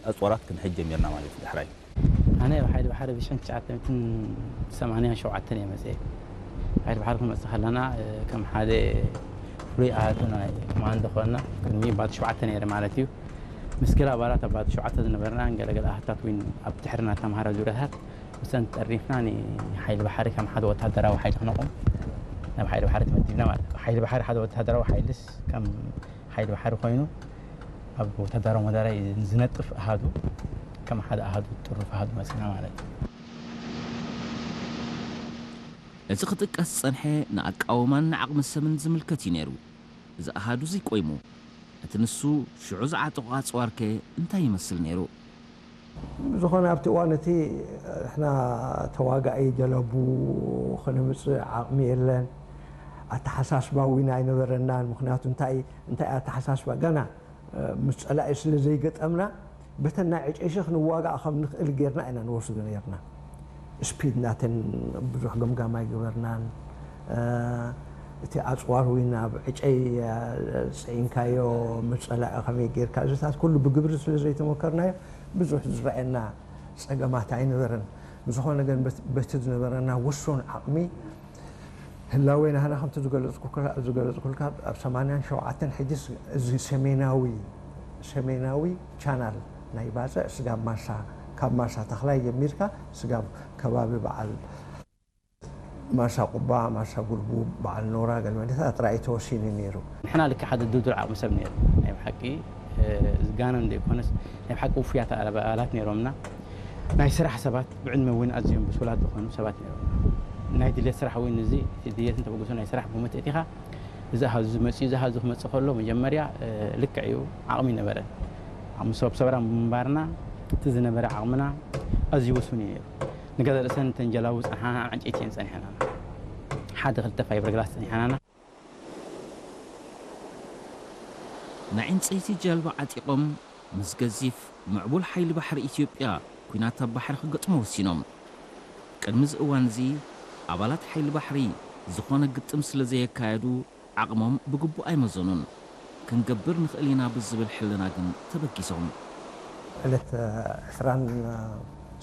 ኣፅዋራት ክንሕዝ ጀሚርና ማለት እዩ። ዳሕራይ ኣነ ኣብ ሓይሊ ባሕሪ ብሽሕን ትሽዓተ ሚእትን ሰማንያን ሸውዓተን እየ መፅየ። ሓይሊ ባሕሪ ክንመፅእ ከለና ከም ሓደ ፍሉይ ኣሃቱ ናይ ኮማንዶ ኮና ቅድሚ ባቲ ሸውዓተ ነይረ ማለት እዩ። ምስ ገለ ኣባላት ኣብ ባቲ ሸውዓተ ዝነበርና ገለገለ ኣሃታት እውን ኣብ ድሕርና ተምሃረ ዙርያታት ምሰን ጠርኒፍና ንሓይሊ ባሕሪ ከም ሓደ ወታደራዊ ሓይሊ ክነቑም ናብ ሓይሊ ባሕሪ ተመዲብና ማለት እዩ። ሓይሊ ባሕሪ ሓደ ወታደራዊ ሓይልስ ከም ሓይሊ ባሕሪ ኮይኑ ኣብ ወታደራዊ መዳርያ ዝነጥፍ ኣሃዱ ከም ሓደ ኣሃዱ ጥሩፍ ኣሃዱ መፂና ማለት እዩ። እዚ ክጥቀስ ዝጸንሐ ንኣቃውማን ንዓቕሚ ሰብን ዝምልከት እዩ ነይሩ። እዚ ኣሃዱ እዚ ቆይሙ እቲ ንሱ ሽዑ ዝዓጠቖ ኣጽዋርከ እንታይ ይመስል ነይሩ? ብዝኾነ ኣብቲ እዋን እቲ ንሕና ተዋጋኢ ጀለቡ ክንምፅእ ዓቕሚ የለን። ኣተሓሳስባ እውን ኣይነበረናን። ምክንያቱ እንታይ እንታይ ኣተሓሳስባ ገና ምስ ፀላኢ ስለ ዘይገጠምና በተን ናይ ዕጨይሲ ክንዋጋእ ከም ንኽእል ጌርና ኢና ንወስዶ ነርና። ስፒድ ናተን ብዙሕ ገምጋም ኣይገበርናን። እቲ ኣፅዋር እውን ኣብ ዕጨይ ፅዒንካዮ ምስ ፀላኢ ከመይ ጌርካ እዚታት ኩሉ ብግብሪ ስለ ዘይተመከርናዮ ብዙሕ ዝረኣየና ፀገማት ኣይነበረን። ብዝኾነ ግን በቲ ዝነበረና ውሱን ዓቕሚ ህላዌ ናህና ከምቲ ዝገለፅኩልካ ኣብ ሰማንያን ሸውዓተን ሕጂ እዚ ሰሜናዊ ሰሜናዊ ቻናል ናይ ባፅዕ ስጋብ ማርሳ ካብ ማርሳ ተኽላይ ጀሚርካ ስጋብ ከባቢ በዓል ማርሳ ቁባ፣ ማርሳ ጉልቡ፣ በዓል ኖራ ገለመለታት ጥራይ ተወሲኑ ነይሩ። ንሕና ልክዕ ሓደ ድልዱል ዓቕሚ ሰብ ነይሩ። ናይ ብሓቂ ዝጋነን ዘይኮነስ ናይ ብሓቂ ውፉያት ኣባላት ነይሮምና። ናይ ስራሕ ሰባት ብዕድመ እውን ኣዝዮም ብሱላት ዝኾኑ ሰባት ነይሮምና። ናይ ድሌት ስራሕ እውን እዚ ድሌትን ተበግሶ ናይ ስራሕ ብመትእቲኻ እዚ ኣሃዙ ዝመፅእ እዚ ኣሃዙ ክመፅእ ከሎ መጀመርያ ልክዕ እዩ ዓቕሚ ይነበረን። ምስ ሰብ ሰብራ ምንባርና እቲ ዝነበረ ዓቕምና ኣዝዩ ውሱን እዩ ነይሩ። ንገዛ ርእሰን ተንጀላቡ ጸንሓና ዕንጨይቲ እየን ጸኒሐናና ሓደ ክልተ ፋይበር ግላስ ጸኒሐናና። ናይ ዕንጸይቲ ጀልባ ዓጢቖም ምስ ገዚፍ ምዕቡል ሓይሊ ባሕሪ ኢትዮጵያ ኲናት ኣብ ባሕሪ ክገጥሙ ወሲኖም። ቅድሚ እዚ እዋን እዚ ኣባላት ሓይሊ ባሕሪ ዝኾነ ግጥም ስለ ዘየካየዱ ዓቕሞም ብግቡእ ኣይመዘኑን። ክንገብር ንኽእል ኢና ብዝብል ሕልና ግን ተበጊሶም። ዕለት ዕስራን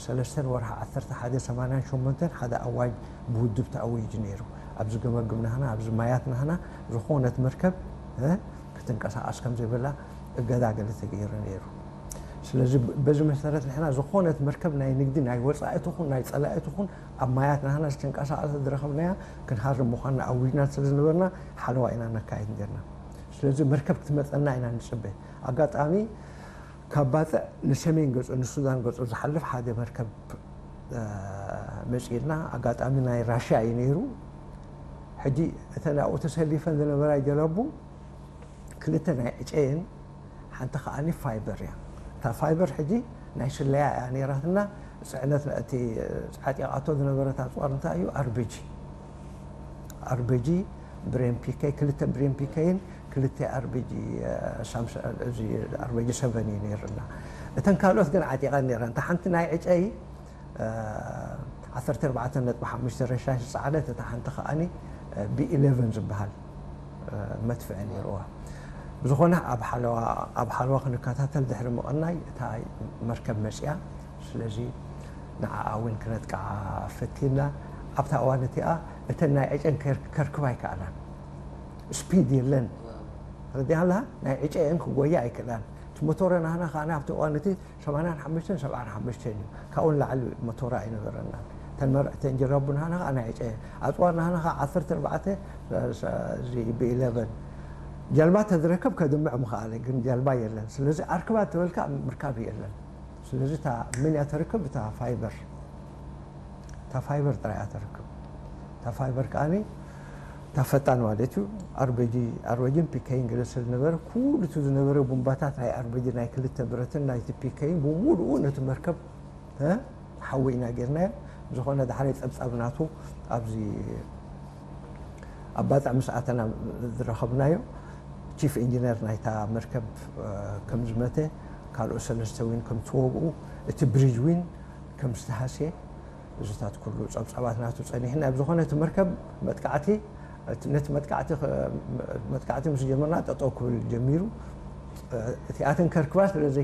ሰለስተን ወርሒ ዓሰርተ ሓደ ሰማንያን ሸሞንተን ሓደ ኣዋጅ ብውድብ ተኣዊጁ ነይሩ። ኣብዚ ገመግም ናህና፣ ኣብዚ ማያት ናህና ዝኾነት መርከብ ክትንቀሳቐስ ከም ዘይብላ እገዳ ገለ ተገይሩ ነይሩ። ስለዚ በዚ መሰረት ንሕና ዝኾነት መርከብ ናይ ንግዲ ናይ ወፃኢ ትኹን ናይ ፀላኢ ትኹን ኣብ ማያት ናህና ዝተንቀሳቐሰ ዝረኸብናያ ክንሃርም ምዃንና ኣዊጅና ስለ ዝነበርና ሓለዋ ኢና ነካይድ ነርና። ስለዚ መርከብ ክትመፀና ኢና ንፅበ። ኣጋጣሚ ካብ ባፅዕ ንሰሜን ገፁ ንሱዳን ገፁ ዝሓልፍ ሓደ መርከብ መፂእልና። ኣጋጣሚ ናይ ራሽያ እዩ ነይሩ። ሕጂ እተን ኣብኡ ተሰሊፈን ዝነበራ ጀለቡ ክልተ ናይ ዕጨየን ሓንቲ ከዓኒ ፋይበር እያ። እታ ፋይበር ሕጂ ናይ ስለያ እያ ነይራትና። ፅዕነት እቲ ዓጢቓቶ ዝነበረት ኣፅዋር እንታይ እዩ? ኣርቢጂ ኣርቢጂ ብሬን ፒከይ ክልተ ብሬን ፒከይን ክልተ ኣርቢጂ ኣርቢጂ ሰቨን እዩ ነይርና። እተን ካልኦት ግን ዓጢቐን ነይረን። እታ ሓንቲ ናይ ዕጨይ ዓሰርተ ኣርባዕተ ነጥቢ ሓሙሽተ ረሻሽ ዝፀዓነት እታ ሓንቲ ከዓኒ ቢ ኢለቨን ዝበሃል መድፍዒ ነይርዋ። ብዝኾነ ኣብ ሓለዋ ኣብ ሓለዋ ክንከታተል ድሕሪ ምቕናይ እታ መርከብ መፅያ። ስለዚ ንዓኣ እውን ክነጥቅዓ ፈቲና። ኣብታ እዋን እቲኣ እተን ናይ ዕጨን ከርክባ ኣይከኣላን። ስፒድ የለን። ረዲያ ኣለሃ ናይ ዕጨ እየን ክጎያ ኣይክእላን። እቲ ሞቶረ ናህና ከዓ ኣብቲ እዋን እቲ ሰማንያን ሓሙሽተን ሰብዓን ሓሙሽተን እዩ። ካብኡ ንላዕሊ ሞቶራ ኣይነበረናን። እተን መርዕተን ጀላቡ ናህና ከዓ ናይ ዕጨ እየን። ኣፅዋር ናህና ከዓ ዓሰርተ ኣርባዕተ እዚ ብኢለቨን ጀልባ ተዝረከብ ከድምዕ ምኽኣለ ግን ጀልባ የለን። ስለዚ ኣርክባ ተበልካ ምርካብ የለን። ስለዚ እታ መን እያ ተርክብ? እታ ፋይበር እታ ፋይበር ጥራይ እያ ተርክብ። እታ ፋይበር ከዓኒ እታ ፈጣን ማለት እዩ። ኣርበጂ ኣርበጂን ፒከይን ገለ ስለ ዝነበረ ኩሉ እቲ ዝነበረ ቡምባታት ናይ ኣርበጂ ናይ ክልተ ብረትን ናይቲ ፒከይን ብምሉኡ ነቲ መርከብ ሓዊ ኢና ጌርናዮ። ዝኾነ ዳሕራይ ጸብጻብ ናቱ ኣብዚ ኣብ ባጽዕ ምስ ኣተና ዝረኸብናዮ ቺፍ ኢንጂነር ናይታ መርከብ ከም ዝመተ ካልኦት ሰለስተ ዊን ከም ትወግኡ እቲ ብሪጅ ዊን ከም ዝተሃስየ እዚታት ኩሉ ጸብጻባት ናቱ ጸኒሕና ኣብ ዝኾነ እቲ መርከብ መጥቃዕቲ ነቲ መጥቃዕቲ መጥቃዕቲ ምስ ጀመርና ጠጠው ክብል ጀሚሩ እቲኣተን ከርክባ ስለ